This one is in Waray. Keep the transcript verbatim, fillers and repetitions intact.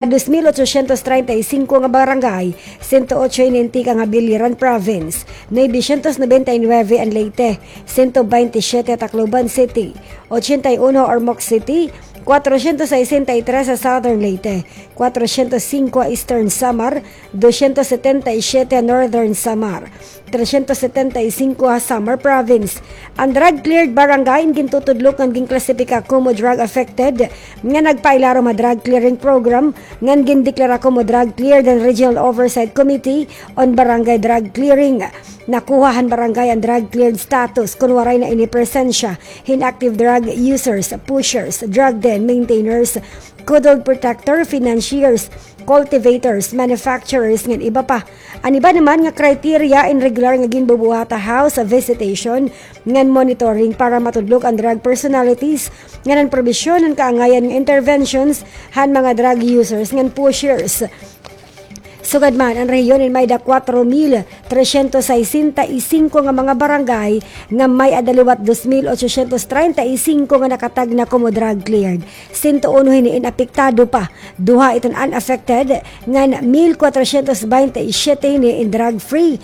Dos mil ochocientos treinta y cinco nga barangay, sento ocho ini in tikang ha Biliran Province, novecientos noventa y nueve an Leyte, sento baynte siyete ha Tacloban City, ochenta y uno ha Ormoc City, cuatrocientos sesenta y tres ha Southern Leyte, cuatrocientos cinco ha Eastern Samar, doscientos setenta y siete ha Northern Samar, trescientos setenta y cinco ha Samar Province. An drug cleared barangay in gintutudlok ngan ginklasipika komo drug affected nga nagpailarom ha drug clearing program ngan gindeklara komo drug cleared han Regional Oversight Committee on Barangay Drug Clearing. Nakuha han barangay an drug cleared status kon waray na ini presensya hin active drug users, pushers, drug den maintainers, coded protector, financiers, cultivators, manufacturers, ngan iba pa. An iba naman nga criteria in regular nga ginbubuhat ha house visitation ngan monitoring para matudlok an drug personalities ngan an probisyon han kaangayan nga interventions han mga drug users ngan pushers. Sugad man, an rehiyon in may-ada cuatro mil trescientos sesenta y cinco nga mga barangay nga may-ada liwat dos mil ochocientos treinta y cinco nga nakatagna komo drug cleared. Sento uno hini in apektado pa, duha iton unaffected, ngan mil cuatrocientos baynte y siete hini in drug free.